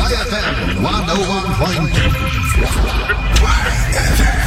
YFM 101.2. YFM.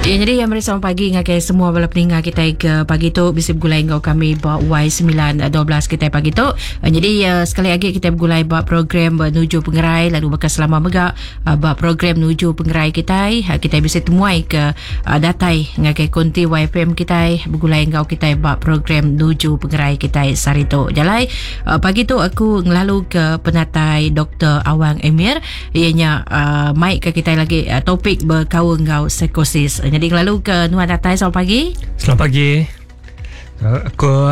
Ya, jadi yang meri selamat pagi ngagai semua bala peninga kita ke pagi tu bisi begulai enggau kami ba Y912 kita pagi tu. Eh, jadi uh, sekali lagi kita begulai ba program menuju pengerai lalu bakal selama mega uh, ba program nuju pengerai kita uh, kita bisi temuai ke uh, datai ngagai konti YFM kita begulai enggau kita ba program nuju pengerai kita sehari tu. Jalai uh, pagi tu aku ngelalu ke penatai Dr. Awang Emir iya nya uh, mai ke kita lagi uh, topik berkaul enggau psikosis. Jadi ngelalu ke nuan datai selamat pagi. Selamat pagi. Aku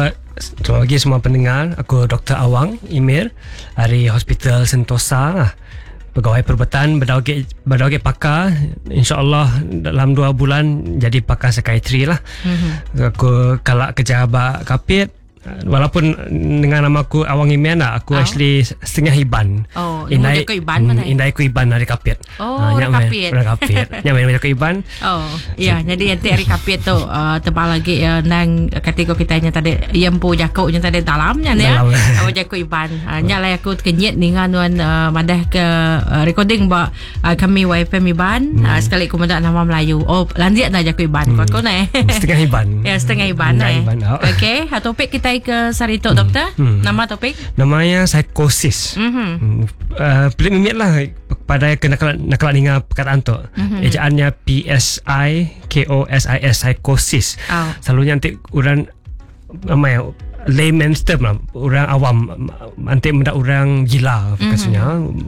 selamat pagi semua pendengar. Aku Dr. Awang Emir dari Hospital Sentosa. Pegawai perubatan berdauge berdauge pakar insyaallah dalam 2 bulan jadi pakar psikiatri lah. Mm-hmm. Aku kalak kerja ba kapit Walaupun dengan nama aku Awang Imian lah, aku oh. actually setengah Iban. Oh, indai aku Iban mana? Hmm, indai aku Iban dari Kapit. Oh, ha, dari Kapit. Dari Kapit. Nya main aku Iban. Oh, ya, jadi nanti hari Kapit tu uh, tebal lagi uh, nang kategori kita nya tadi yang empu jakuk nya tadi dalamnya ni ya. Awak jakuk Iban. Uh, nya lah aku terkenyit ninga nuan uh, madah ke uh, recording ba uh, kami YFM Iban hmm. uh, sekali aku mendak nama Melayu. Oh, landik dah jaku Iban. Hmm. Aku ni. Setengah Iban. ya, setengah Iban eh. Iban. Oh. Okey, ha, topik kita ke sehari tu, hmm. doktor. Hmm. Nama topik? Namanya psikosis. Mm-hmm. Uh, pelik mimit lah pada kena nak kelak dengar perkataan tu. Mm-hmm. Ejaannya P S I K O S I S psikosis. Oh. Selalunya nanti orang nama ya layman's term lah orang awam nanti mendak orang gila mm-hmm. maksudnya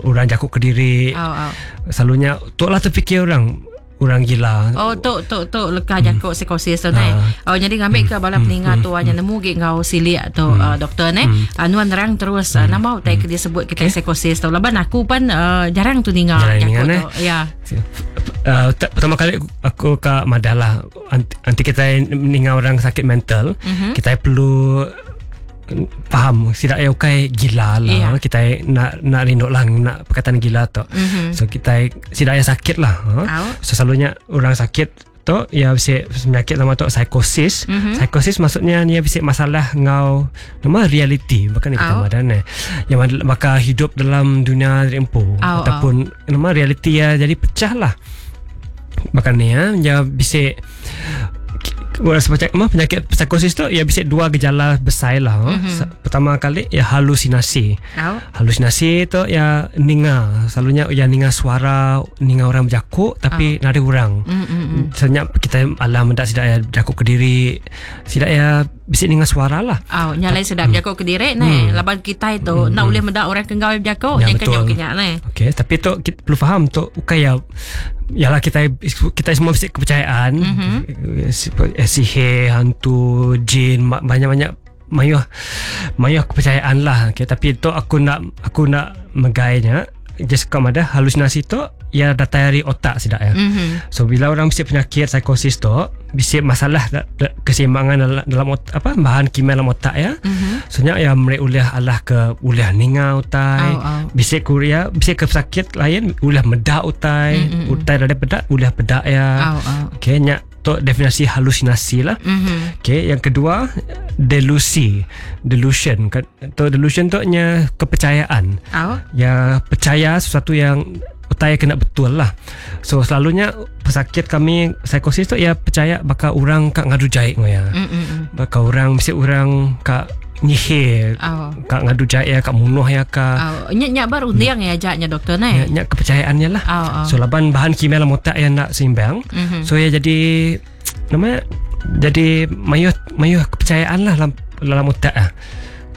orang jakuk ke diri oh, oh. selalunya tok lah terfikir orang orang gila oh tok tok tok leka jakuk mm. psikosis tu ha. oh jadi ngambil ke bala mm. peninga mm. tu hanya nemu ge ngau silik tu mm. uh, doktor ne mm. uh, nuan nerang terus uh, nama utai ke dia sebut kita okay. psikosis tu laban aku pan uh, jarang tu ninga jakuk tu ya uh, pertama kali aku ke madah lah anti kita ninga orang sakit mental mm-hmm. kita perlu faham tidak ya ukai gila lah yeah. kita nak nak rindu lah nak perkataan gila tu mm-hmm. so kita tidak ya sakit lah ha? so selalunya orang sakit tu ya bisa penyakit nama tu psikosis mm-hmm. psikosis maksudnya ni bisa masalah ngau nama reality bukan kita oh. badan eh yang maka hidup dalam dunia empu oh, ataupun oh. nama reality ya jadi pecah lah bahkan ni ya ya bisa semacam penyakit psikosis tu ya bisa dua gejala besar lah. Mm-hmm. Pertama kali ya halusinasi. Oh. Halusinasi tu ya ninga, selalunya ya ninga suara, ninga orang berjakuk tapi oh. nada orang. Mm-hmm. Senyap kita alam mendak sidak ya berjakuk ke diri, sidak ya bisa ninga suara lah. Oh, nyalai sedap berjakuk ke diri ni. Laban kita itu nak boleh mendak orang kenggau berjakuk, yang kenyok kenyak ni. Okey, tapi tu kita perlu faham tu bukan ya yalah kita kita semua mesti kepercayaan mm-hmm. sihir, hantu, jin, banyak-banyak mayuh mayuh kepercayaan lah. Okay, tapi tu aku nak aku nak megainya just kau ada halusinasi tu ya datang dari otak sidak ya. Mm-hmm. So bila orang mesti penyakit psikosis tu, mesti masalah keseimbangan dalam, dalam otak, apa bahan kimia dalam otak ya. Mm-hmm. So nya ya mereka uliah alah ke uliah ninga utai, oh, oh. Bisik kuria, bisik ke sakit lain uliah medak utai, mm-hmm. utai dari pedak uliah pedak ya. Oh, oh. Okey nya tu definisi halusinasi lah. Mm-hmm. Okey, yang kedua delusi, delusion. Tu delusion tu nya kepercayaan. Oh. Ya percaya sesuatu yang utai kena betul lah. So selalunya pesakit kami psikosis tu ya percaya bakal orang kat ngadu jahit ya. Mm-mm. Bakal orang mesti orang kat nyihir, oh. kat ngadu jahit ya, kat munuh ya ka. Oh. Nyak nyak baru undiang ya ajaknya doktor ne. Nyak, nyak kepercayaannya lah. Oh, oh. So laban bahan kimia dalam otak yang nak seimbang. Mm-hmm. So ya jadi namanya jadi mayuh mayuh kepercayaan lah dalam dalam otak lah.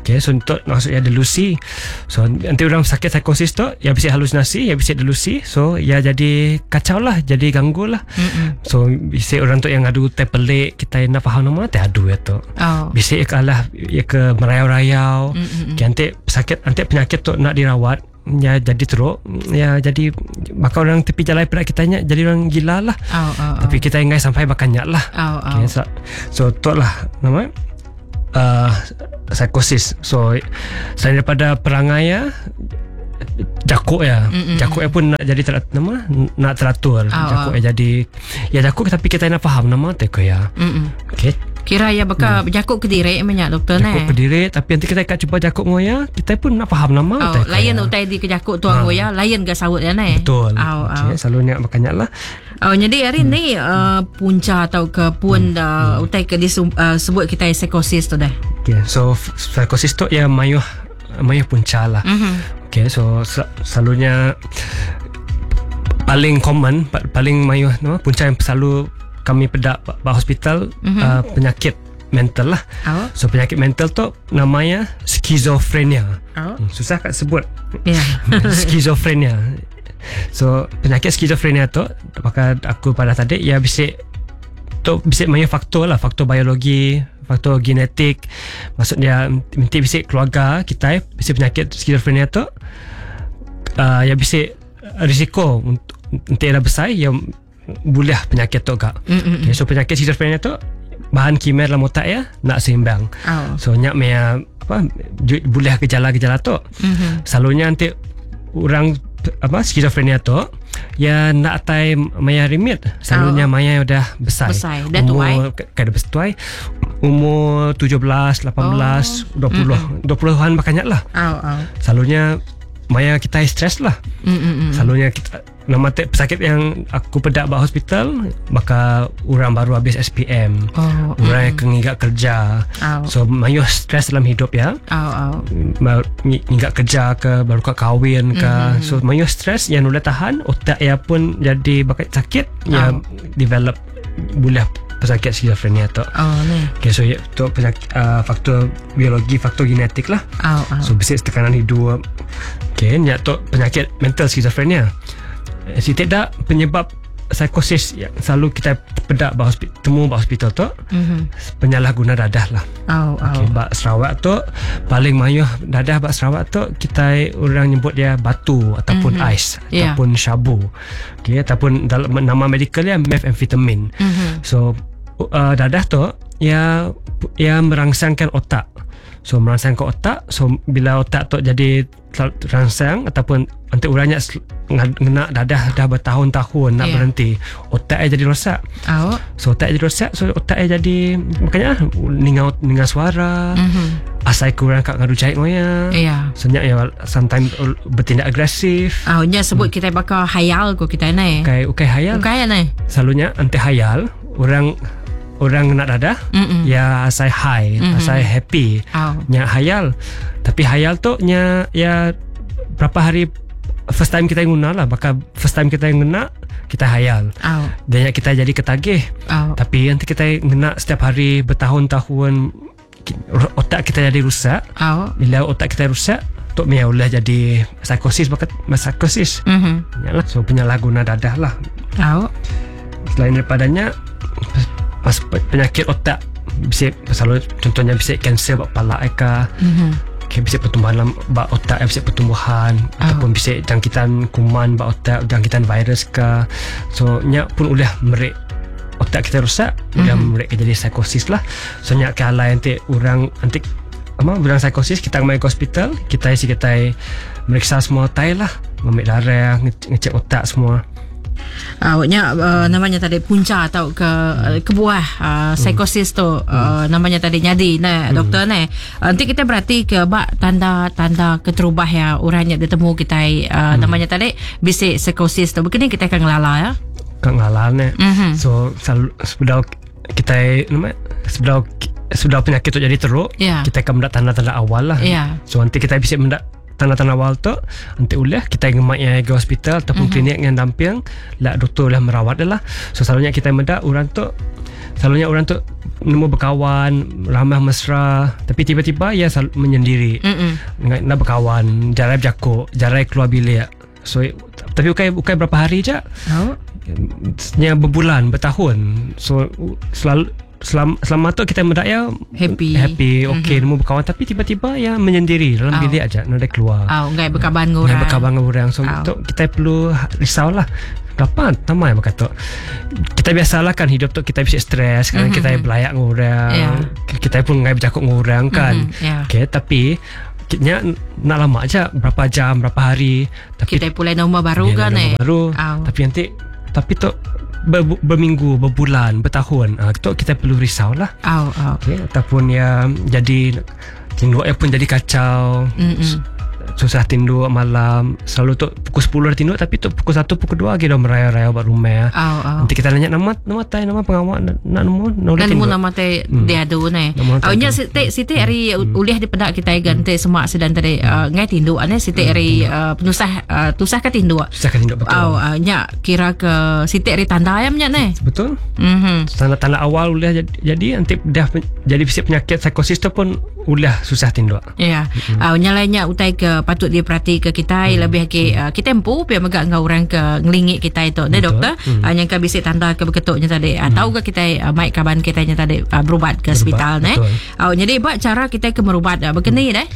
Okay, so untuk maksudnya delusi. So nanti orang sakit psikosis tu ya bisa halusinasi, ya bisa delusi. So ya jadi kacau lah, jadi ganggu lah. Mm-mm. So bisa orang tu yang adu teh pelik, kita nak faham nama teh adu ya tu. Oh. Bisa ya ke alah ya ke merayau-rayau. Okay, nanti sakit nanti penyakit tu nak dirawat ya jadi teruk ya jadi bakal orang tepi jalan perak kita nya jadi orang gila lah. Oh, oh, oh. Tapi kita ingai sampai bakannya lah. Oh, oh. Okay, so, so tu lah nama psikosis. So selain daripada perangai ya, jakuk ya, jakuk ya pun nak jadi ter, nama nak teratur. Oh, jakuk ya jadi ya jakuk tapi kita nak faham nama teko ya. Okey. Okey. Kira ya baka hmm. ke diri menya doktor ne. Jakuk ke diri tapi nanti kita kat cuba jakuk ngoya, kita pun nak faham nama oh, utai. Lain utai di kejakuk tuang ha. ngoya, lain ga saut ya ne. Betul. Oh, okay, oh. Selalunya makanya lah. Oh, jadi hari hmm. ni punca atau ke pun hmm. Utai ke disebut kita psikosis tu dah. Okay, so psikosis tu ya mayuh mayuh punca lah. Mm-hmm. Okay, so selalunya paling common, paling mayuh no, punca yang selalu kami pedak ba hospital mm-hmm. Penyakit mental lah. Oh. So penyakit mental tu namanya skizofrenia. Oh. Susah kat sebut. Yeah. Skizofrenia. So penyakit skizofrenia tu maka aku pada tadi ya bisa tu bisa banyak faktor lah, faktor biologi, faktor genetik. Maksudnya minti bisa keluarga kita bisa penyakit skizofrenia tu ya bisa risiko untuk nanti era besar yang boleh penyakit tu kak. Okay, so penyakit skizofrenia tu bahan kimia dalam otak ya nak seimbang. Oh. So nyak mea apa boleh gejala-gejala tu. Mm-hmm. Selalunya nanti orang apa skizofrenia tu ya nak atai maya rimit. Selalunya oh. maya dah besar. Besar. Dah tuai. Kada besar. Umur 17, 18, oh. 20. Mm-hmm. 20-an makanya lah. Oh, oh. Selalunya maya kita stres lah. Mm-mm. Selalunya kita nama pesakit yang aku pedak ba hospital maka orang baru habis SPM. Oh, orang yang ngigak kerja. Oh. So mayuh stres dalam hidup ya. Oh, oh. Ngigak kerja ke baru kat kahwin ke. Mm-hmm. So mayuh stres yang boleh tahan otak ya pun jadi bakat sakit Oh. ya develop boleh pesakit skizofrenia tu. Oh, ni. Okay, so tu penyakit faktor biologi, faktor genetik lah. Oh, oh. So besi tekanan hidup. Okay, ni tu penyakit mental skizofrenia. Si tidak penyebab psikosis yang selalu kita pedak ba hospital, temu ba hospital tu, mm-hmm. penyalahguna dadah lah. Oh, oh. Okay, bak Sarawak tu paling mayuh dadah bak Sarawak tu kita orang nyebut dia batu ataupun mm-hmm. ais ataupun syabu. Okay, ataupun dalam nama medical dia methamphetamine. Mm-hmm. So dadah tu ya ya merangsangkan otak. So merangsangkan otak, so bila otak tu jadi terangsang ataupun nanti orangnya ngena dadah dah bertahun-tahun nak Yeah. berhenti, otak dia jadi rosak. Oh. So otak dia jadi rosak, so otak dia jadi makanya ninga suara, Mm-hmm. asai kurang kat ngadu jahit moya. Yeah. So nyak ya sometimes bertindak agresif. Oh, nya sebut kita bakal hayal ko kita ni. Ukai ukai hayal. Bukan ni. Selalunya anti hayal orang orang nak dadah Mm-mm. ya asai high, Mm-hmm. asai happy. Oh. Nya hayal. Tapi hayal tu nya ya berapa hari first time kita guna lah, bakal first time kita guna kita hayal. Oh. Dan yang kita jadi ketagih. Oh. Tapi nanti kita ngena setiap hari bertahun-tahun otak kita jadi rusak. Oh. Bila otak kita rusak, tok mia ulah jadi psikosis bakal psikosis. Mhm. Yalah, so penyalahguna dadah lah. Oh. Selain daripadanya pas penyakit otak bisa selalu contohnya bisa kanser bak palak ke. Mhm. Okay, bisa pertumbuhan dalam bak otak, bisa pertumbuhan Oh. ataupun bisa jangkitan kuman bak otak, jangkitan virus ke. So nyak pun ulah merik otak kita rosak, ulah Mhm. merik jadi psikosis lah. So nyak ke alai nanti orang nanti apa orang psikosis kita mai ke hospital, kita isi kita meriksa semua tai lah, ambil darah, ngecek otak semua. Awaknya namanya tadi punca atau ke kebuah psikosis tu namanya tadi nyadi nah doktor nah. Nanti kita berarti ke bak tanda-tanda keterubah ya orangnya ditemu kita namanya tadi bisik psikosis tu. Begini kita akan ngelala ya. Kat ngalan eh. Mhm. So selalu sebelum kita nama sebelum sudah penyakit tu jadi teruk, Ya. kita akan mendak tanda-tanda awal lah. Ya. So nanti kita bisa mendak tanda-tanda awal tu, nanti ulah kita ngemak yang ke hospital ataupun klinik yang damping, lah doktor lah merawat dia lah. So selalunya kita mendak orang tu selalunya orang tu nemu berkawan, ramah mesra, tapi tiba-tiba ia selalu menyendiri. Mm-mm. Nak, nak berkawan, jarai berjakuk, jarai keluar bilik. So tapi bukan bukan berapa hari je. Oh. Nya berbulan, bertahun. So selalu selama tu kita mendak ya Happy. happy, okey, mm-hmm. nemu berkawan tapi tiba-tiba ya menyendiri dalam Oh. bilik aja, nak ada keluar. Oh, ngai berkabar dengan Nak orang. berkawan dengan orang. So Oh. tu kita perlu risau lah. Kenapa tamai berkata. Kita biasalah kan hidup tu kita bisa stres, kadang Mhm. kita belayak dengan orang. Ya. Kita pun ngai bercakap dengan orang kan. Mhm, ya. Okey, tapi nya nak lama aja berapa jam, berapa hari, tapi Kita pulai nama baru Ya, kan nama eh. Baru. Oh. Tapi nanti tapi tu ber, berminggu, berbulan, bertahun, tu kita perlu risau lah. Au au. Okay, ataupun ya jadi tinduk ya pun jadi kacau. Susah tinduk malam. Selalu tu pukul 10 dah tinduk, tapi tu pukul 1, pukul 2 lagi dah merayau-rayau buat rumah. Au au. Nanti kita nanya nama nama tai, nama pengawal nak nak nemu nak Dan tinduk. mu nama te dia adu ne. Nama Au tai nya tu. siti siti hari ulih dipedak kita gan te semak sedan tadi ngai tinduk ane siti hari penusah tusah ka tinduk. Susah kan tinduk betul. Au nya kira ke siti hari tanda ayam nya ne. Betul? Mhm. Tanda-tanda awal ulah jadi, jadi nanti dah jadi bisik penyakit psikosis tu pun ulah susah tinduk. Ya. Yeah. Nya lainnya utai ke patut diperhati ke kita lebih ke kita empu pia megak ngau orang ke ngelingik kita itu. Ne doktor, yang ke bisik tanda ke beketuknya tadi. Tahu ke kita mai kaban kita nya tadi berubat ke hospital ne. Betul. Jadi buat cara kita ke merubat begini deh.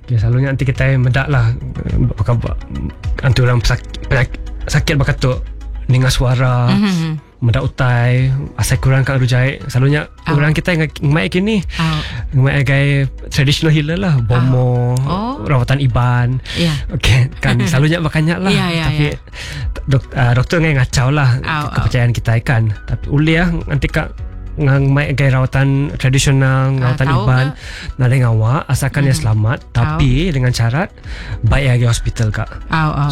Okay, selalunya nanti kita mendak lah bakal nanti orang sakit bakatuk dengar suara. Mendak utai asal kurang kat rujai. Selalunya orang kita yang mai kini mai gai traditional healer lah, bomo, rawatan iban. Ya. Okey, kan selalunya makannya lah. Ya, ya, tapi ya. Doktor ngai ngacau lah kepercayaan kita kan. Tapi uliah nanti kak ngang mai gai rawatan tradisional, rawatan iban, nade ngawak asalkan dia selamat, tapi dengan syarat baik lagi hospital kak.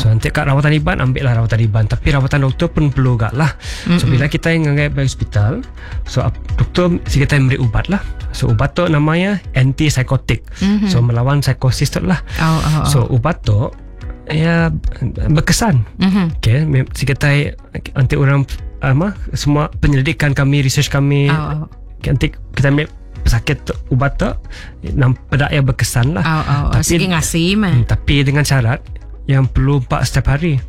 So nanti kat rawatan iban ambil lah rawatan iban, tapi rawatan doktor pun perlu gak lah. So bila kita yang ngangai pergi hospital, so doktor si kita beri ubat lah. So ubat tu namanya antipsychotic. So melawan psikosis tu lah. So ubat tu ya berkesan. Okay, si kita nanti orang ama semua penyelidikan kami, research kami, nanti kita ambil pesakit tu, ubat tu nampak ya berkesan lah. Tapi sikit ngasih mah. Tapi dengan syarat yang perlu 4 setiap hari.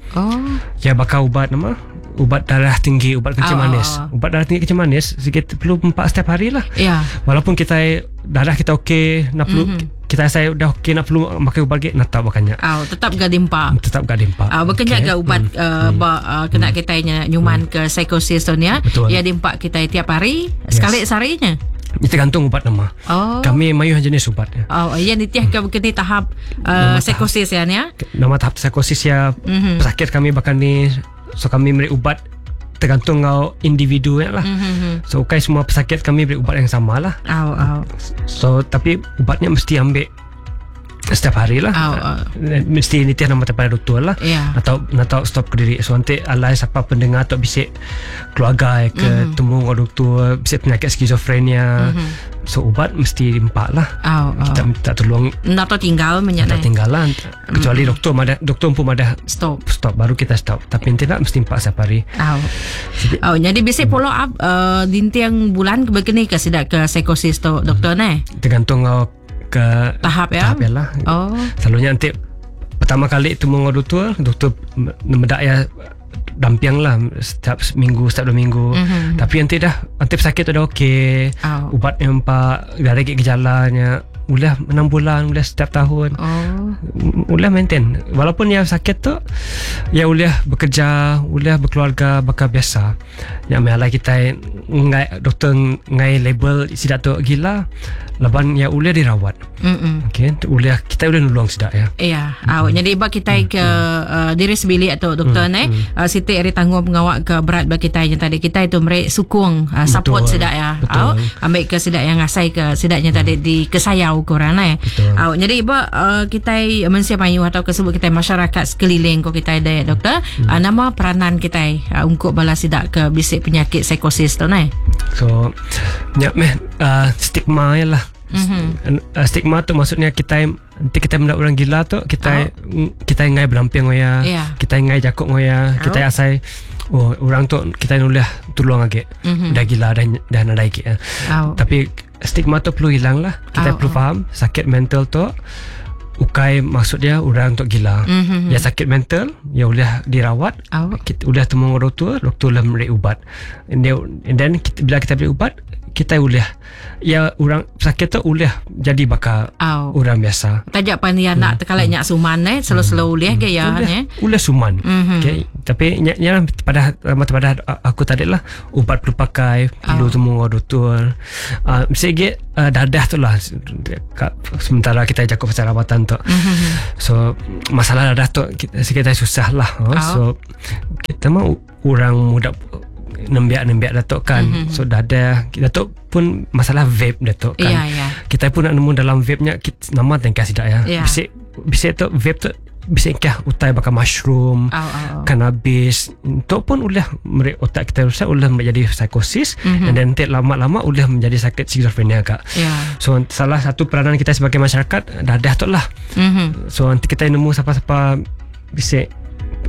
Ya bakal ubat nama ubat darah tinggi, ubat kencing manis. Ubat darah tinggi kencing manis sikit perlu 4 setiap hari lah. Ya. Walaupun kita darah kita okey, nak perlu kita saya dah okey nak perlu makan ubat lagi, nak tak makannya. Tetap gak dimpa. Tetap gak dimpa. Bukannya okay. gak ubat kena kita nyuman ke psikosis tu ni ya. Ya dimpa kita tiap hari, sekali seharinya. Itu tergantung ubat nama. Kami mayuh jenis ubat. Ya nitiah ke begini tahap psikosis ya ni ya. Nama tahap psikosis ya. Pesakit kami bahkan ni, so kami beri ubat tergantung kau individu lah. So okay, semua pesakit kami beri ubat yang sama lah. So tapi ubatnya mesti ambil setiap hari lah. Mesti nitih nama kepada doktor lah. Atau atau stop ke diri. So nanti alai siapa pendengar atau bisik keluarga ke temu dengan doktor bisik penyakit skizofrenia. So ubat mesti dimpak lah. Kita minta tolong nak tinggal tak tinggal lah. Kecuali doktor madah, doktor pun madah stop. Stop baru kita stop. Tapi nanti nak mesti empak setiap hari. Jadi bisik follow up dintiang bulan begini ke sidak ke psikosis tu doktor ne? Tergantung ke tahap ya. Tahap ya lah. Selalunya nanti pertama kali temu dengan doktor, doktor mendak ya dampiang lah setiap minggu, setiap 2 minggu. Tapi nanti dah nanti pesakit tu dah okey. Ubat yang empat, dah lagi gejalanya. Ulah 6 bulan, ulah setiap tahun. Ulah maintain. Walaupun yang sakit tu ya ulah bekerja, ulah berkeluarga bakal biasa. Yang malah kita ngai doktor ngai label sidak tu gila, laban ya ulah dirawat. Okey, ulah kita ulah nulung sidak ya. Ya, jadi bab kita ke diri sebilik atau doktor ne, siti ari tanggung pengawak ke berat bagi kita yang tadi kita itu merek sukung support sidak ya. Ambil ke sidak yang ngasai ke sidaknya tadi di kesayau korang eh. Jadi ibu kita mensia payu atau kesebut kita masyarakat sekeliling ko kita ada doktor, nama peranan kita untuk balas sidak ke bisik penyakit psikosis tu ne. So nyak meh stigma lah. Stigma tu maksudnya kita nanti kita mendak orang gila tu kita kita ngai beramping ngoya, kita ngai jakuk ngoya, kita asai oh orang tu kita nulah tolong lagi. Dah gila dah dah nadai lagi. Tapi stigma tu perlu hilang lah. Kita perlu faham sakit mental tu ukai maksud dia orang untuk gila. Dia sakit mental, dia boleh dirawat. Kita boleh temu doktor, doktor lah beri ubat. And then kita, bila kita beri ubat, kita boleh ya orang sakit tu boleh jadi bakal orang biasa. Tajak pan dia nak terkalak nyak suman slow-slow boleh ke ya ne. Boleh suman. Okey, tapi nya pada pada aku tadi lah ubat perlu pakai, perlu temu doktor. Mesti ge dadah tu lah sementara kita cakap pasal rawatan tu. So masalah dadah tu kita, kita susah lah. So kita mah orang muda nembiak-nembiak datuk kan. Mm-hmm. So dadah datuk pun masalah vape datuk kan. Ya, ya. Kita pun nak nemu dalam vape nya kita, nama tengkah sidak ya. Ya. Bisik bisik tu vape tu bisik kah utai bakal mushroom, Au, au, au. cannabis. Tu pun ulah merik otak kita rusak ulah menjadi psikosis mm-hmm. and then nanti lama-lama ulah menjadi sakit skizofrenia kak. Ya. So salah satu peranan kita sebagai masyarakat dadah tu lah. Mhm. So nanti kita nemu siapa-siapa bisik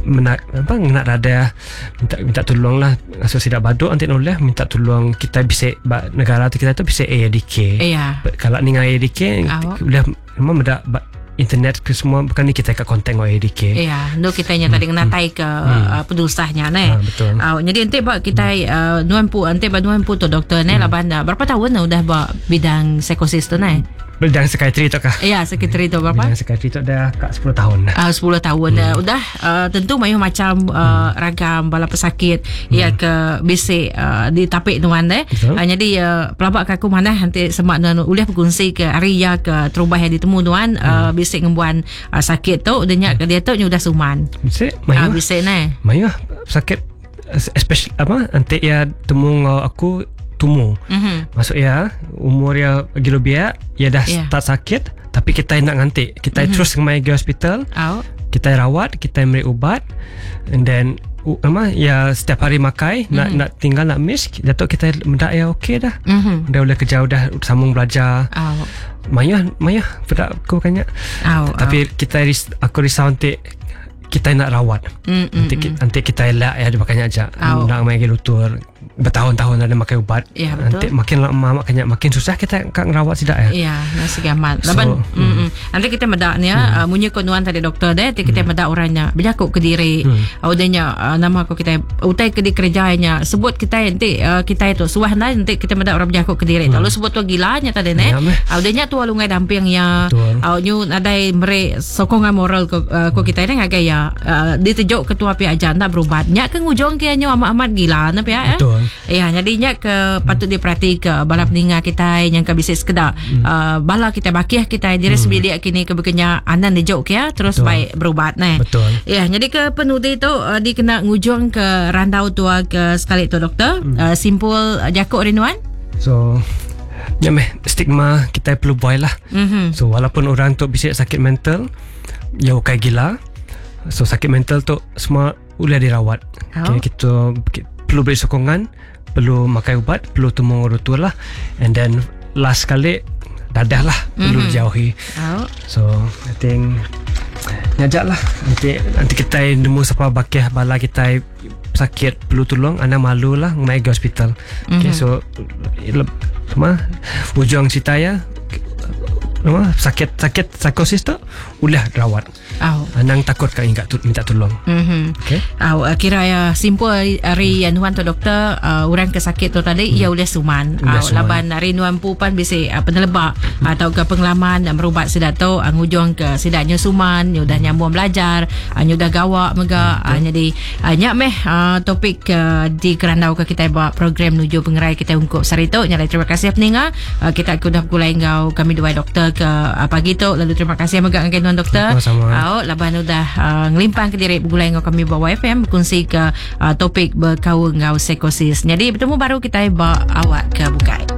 menak apa nak dadah minta minta tolong lah so sidak baduk nanti noleh minta tolong kita bisik ba, negara tu kita tu bisik AADK. Ya. Kalau ni dengan AADK Awak. boleh memang ada ba- internet ke semua bukan ni kita kat kontak dengan AADK. Ya, nu kita nya tadi ngenatai ke hmm. pedusahnya ne. Ha, betul. Uh, jadi nanti bak kita uh, nuan pu nanti bak nuan pu tu doktor ne laban uh, berapa tahun dah udah bak bidang psikosis tu ne? Bidang psikiatri tu kah? Ya, sekretari tu berapa? Bidang psikiatri tu dah kat 10 tahun dah. 10 tahun hmm. udah uh, tentu mayuh macam uh, ragam bala pesakit hmm. ya ke bisik uh, di tapik nuan eh. Betul. Uh, jadi uh, pelabak ke aku mana nanti semak nuan ulih berkongsi ke hari ya ke terubah yang ditemu nuan uh, bisik ngembuan uh, sakit tu dia nyak ke dia tu nya udah suman. Bisik Ah mayuh. bisik ne. Mayuh sakit especially apa nanti ya temu ngau aku tumu. Mhm. Maksud ya umur ya gila biak ya dah Ya. start sakit tapi kita nak ngantik. Kita mm-hmm. terus mai ke hospital, Au. kita rawat, kita beri ubat and then apa ya setiap hari makai mm-hmm. nak nak tinggal nak miss datuk kita mendak ya okey dah. Mhm. Dah boleh kerja dah sambung belajar. Au. Mayah mayah pedak aku banyak. Au. Tapi kita ris, aku risau nanti kita nak rawat. Mm, mm, Nanti, mm, nanti kita elak ya dia makanya aja. Au. Nak main ke lutur bertahun-tahun ada makan ubat. Ya, betul. Nanti makin lama makin makin susah kita kat ngerawat tidak ya. Ya, nasi gamat. So, Laban, mm, mm. Nanti kita medak ni ya, mm. munyi konuan tadi doktor deh, nanti kita mm. medak orangnya. Berjakuk ke diri. Mm. Udahnya uh, nama aku kita utai ke di kerjanya. Sebut kita nanti uh, kita itu suah nanti kita medak orang berjakuk ke diri. Mm. Lalu sebut tu gilanya tadi ne. Ya, meh. Udahnya tu lungai dampingnya. Betul. Uh, nyu nadai mere sokongan moral ko, uh, ko kita ni ngagai ya. Uh, ditejuk ketua pihak ajar nak berubat. Nyak ke ngujung ke nyu amat-amat gila na pihak ya. Betul. Ya, jadinya ke patut diperhati ke bala peninga kita yang ke bisik sekedar. Hmm. Uh, bala kita bakih kita diri hmm. sebilik kini ke bekenya anan dijuk ke ya, terus Betul. baik berubat ne. Betul. Ya, jadi ke penudi tu uh, dikena ngujung ke randau tua ke sekali tu doktor. Hmm. Uh, simpul uh, jakuk rinduan. So ya meh stigma kita perlu buai lah. Mhm. So walaupun orang tu bisik sakit mental ya bukan gila. So sakit mental tu semua boleh dirawat. Oh. Okay, kita, kita perlu beri sokongan, perlu makan ubat, perlu temu doktor lah. And then last kali dadah lah perlu mm-hmm. jauhi. Oh. So I think ngajak lah nanti nanti kita nemu siapa bakih bala kita sakit perlu tolong anda malu lah naik ke hospital. Mm-hmm. Okay so semua ujung cerita ya apa sakit sakit psikosis tu ulah rawat. Oh. Anang takut kat ingat tu, minta tolong. Mhm. Okay. Aw, uh, kira ya simpul hari hmm. nuan tu doktor uh, orang ke sakit tu tadi hmm. ia ulih suman. Ulih Aw, suman. laban hari nuan pu pan bisi uh, penelebak hmm. atau ke pengalaman uh, merubat sidak tu uh, ngujung ke sidaknya suman, nyu dah nyambung belajar, uh, nyu dah gawak mega uh, jadi uh, nyak meh uh, topik uh, di kerandau ke kita buat program nuju pengerai kita ungkup sehari tu. Nyalai terima kasih peninga. Uh, kita aku dah bergulai ngau kami dua doktor ke uh, pagi tu lalu terima kasih mega dengan tuan doktor. Sama-sama. Au, laban udah uh, ngelimpang ke diri bergulai ngau kami bawa FM berkongsi ke uh, topik berkau ngau psikosis. Jadi bertemu baru kita ba awak ke bukai.